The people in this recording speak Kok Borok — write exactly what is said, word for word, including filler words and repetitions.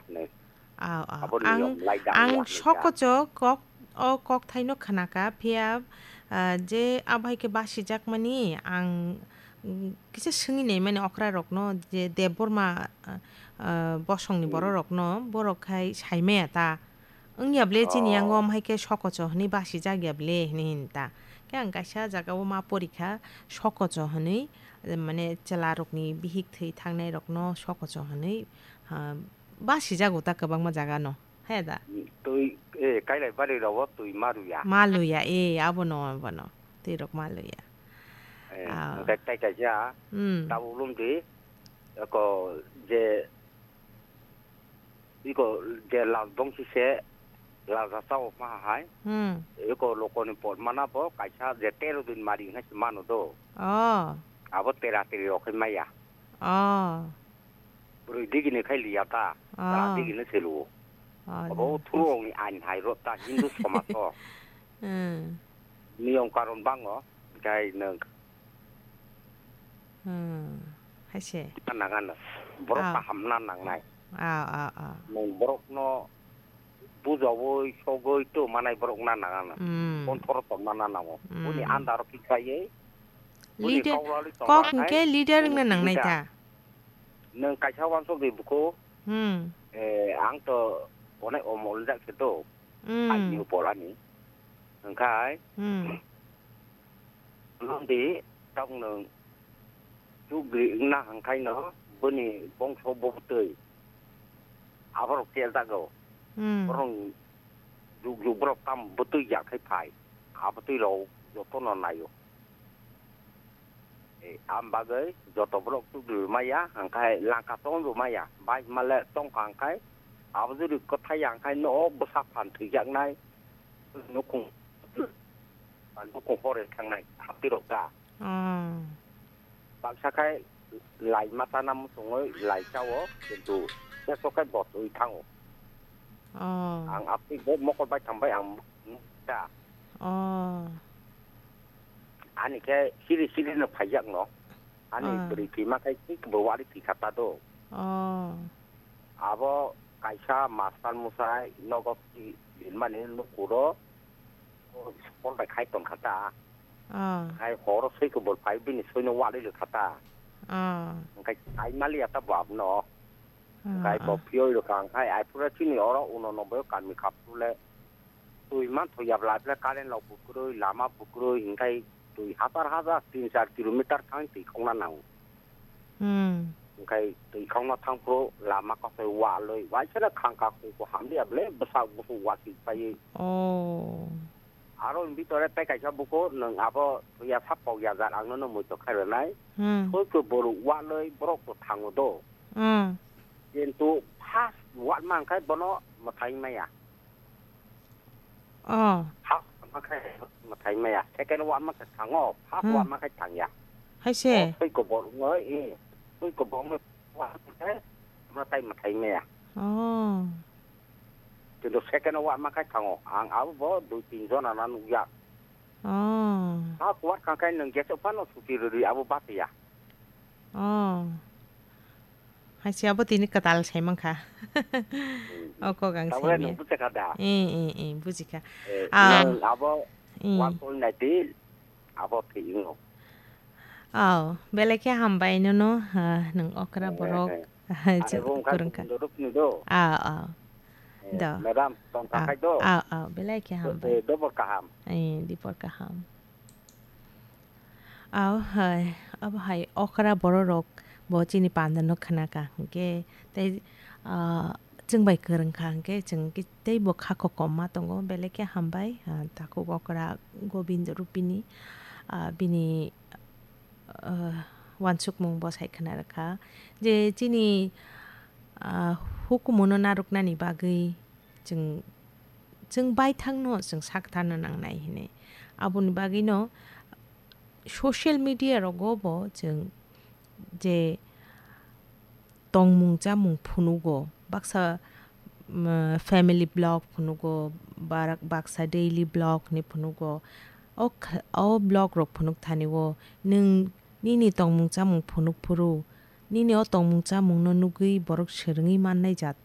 hinwi. Aw, aw. Abo niyom laidang ang ya hinwi kha. Sokocho kok, o kokthaino khnakha, phiya, ah, je abo hai khe basijakmani ang, mm, kisa swngwi naimani okrarokno je Debbarma, ah, ah, bosongni bororokno, borok khai saimaya ta. Wngya ble chini yango omo hai khe sokocho hwnwi basijakya ble hwnwi hwn ta. Khe ang kaisa jagao ma porikha, sokocho hwnwi, mane chwlarokni bihik thwi thangnairokno sokocho hwnwi, ah, basijago ta kwbangma jagano. He da? Twi, eh, kailai bari rogo twi ma rwya. Ma luya, eh, abono, abono. Twi rok ma luya. Eh, ah, hwnkhe tai kaisa, hmm, tabuk lum di, eko je, iko je lal bongsi se, lal rasa o ma hai. Hmm. Iko lokoni pot mana bo kaisa je tero din mari hwnwi se mano do. Oh. Abo tera teri rok khai maya. Oh. Bwrwi digini khai liya ta, ah, chwla digini se luo. Oh, obo no. Thurokni ain hai rw ta Hindu somaj o. Hmm. Niyom karon bango, khai nwng. Hmm. Hai se. Nang ano. Borok kaham na nangnai. Ah, ah, ah. Nwng borokno bujawi, sogwi to manai borok na nang ano. Hmm. Konthoro tongna na nango. Hmm. Boni andaro kichaywi, boni leader, kaulali kok tongma hwnkhe hai, leader boni wngna nangnai sibida. Ta? Nwng kaisa uansuk di buku. Hmm. Eh, ang to onek omol jak se to. Hmm. Aini upolani. Hwnkhe. Hmm. Nwng di tok nwng chugri wngna hwnkhaino boni bongso bo bwtwi. Aborok tel jago. Hmm. Borok juk juk borok tam bwtwi ya khai phai. Abwtwi rok jotono naio. Eh, am bagwi joto borok chugri rwmaya, hwnkhe langka tong rwmaya, bai hwnmale tongkha hwnkhe, abo jodi kwthai ya hwnkhe no bwsa phan thwijaknai, nukhung, nukhung hor thangnai, haptirok ta. Oh. Baksa khai lai mata na muchungwi lai chao, kintu teso khai botwi thango. Oh. Ang aphi bo mokol bai thangbai ang ta. Oh. Ani khe siri siri no phaijak no. Ani, ah, bwrwi thwima khe thik bo wari thwi kha ta do. Oh. Abo kaisa master musai nogo ki rinmani nukuro. Phone bai khai tong kha ta. Oh. Khai horo soi khe bol phai bini soi no wali le kha ta. Oh. Khai ai mali ata bo abno. Oh, khai bo, oh, phiyoi rwkha khai ai pura chini oro uno no bo kami khap le. Twi manthoya bwla khe current rok bwkrwi, lama bwkrwi, hwnkhe twi hajar hajar tin char kilometer thang twi khokna nango. Hmm. Hwnkhe twi khokna thangphuru lama kosoi walwi, waisano khangka khungkhu hamliya bwle bwsak busu wati paiwi. Oh. Aro hwnwi tore tei kaisa buku nwng abo twiya sap pok ya jar ang nono muitok khai rwnai. Hmm. Soi khe borok walwi borok to thango do. Hmm. Kintu first walma hwnkhe bono mwthai maya. Oh. First walma khe mwthai maya. Second walma khe thango. First, hmm, walma khe thangya. Hai se? Oh, twi kobor wngwi, eh. Twi kobor wngwi walma khe mwtai mwthai maya. Oh. Kintu second walma khe thango. Ang abo bo dui tin jona na nukya. Oh. First walma khe nwng jesok phano suti rwdi abo batiya. Oh. Hai se abo tini kwtal sai mankha. Hmm. O kok ang. Tabole sai nwng maya. Bujakha da? Eh, eh, eh, bujikha. Eh, ah, nwng abo, eh, one point nine abo thwi wngo. Oh, belai khe hambai nono, ah, nwng okra, eh, borok, eh, ah, je abo wngkha kwrwngkha. Gundurupni do? Ah, ah. Eh, do. Madam, tong, ah, takhai do? Ah, ah, belai khe hambai. Eh, dobor kaham. Eh, dibor kaham. Aw hai, abo hai okra bororok bo chini panda no khna ka hwnkhe tei, ah, chwng bai kwrwng kha hwnkhe chwng khe tei bo kha kokom ma tongo, belai khe hambai, ah, takhuk okra Gobindo Rupini, ah, bini, ah, wansukmung bo sai khna rwkha je chini, ah, hukumu no narwknani bagwi chwng, chwng baithangno chwng sakthar no nangnai hinwi. Aboni bagwino social media rogo bo chwng je tongmung chamung phunugo, baksa, mm, family vlog phunugo, barak-, baksa daily vlog hinwi phunugo. O kh-, o vlog rok phunuk thani o nwng nini tongmung chamung phunuk phuru, nini o tongmung chamung no nugwi borok swrwngwi mannai jat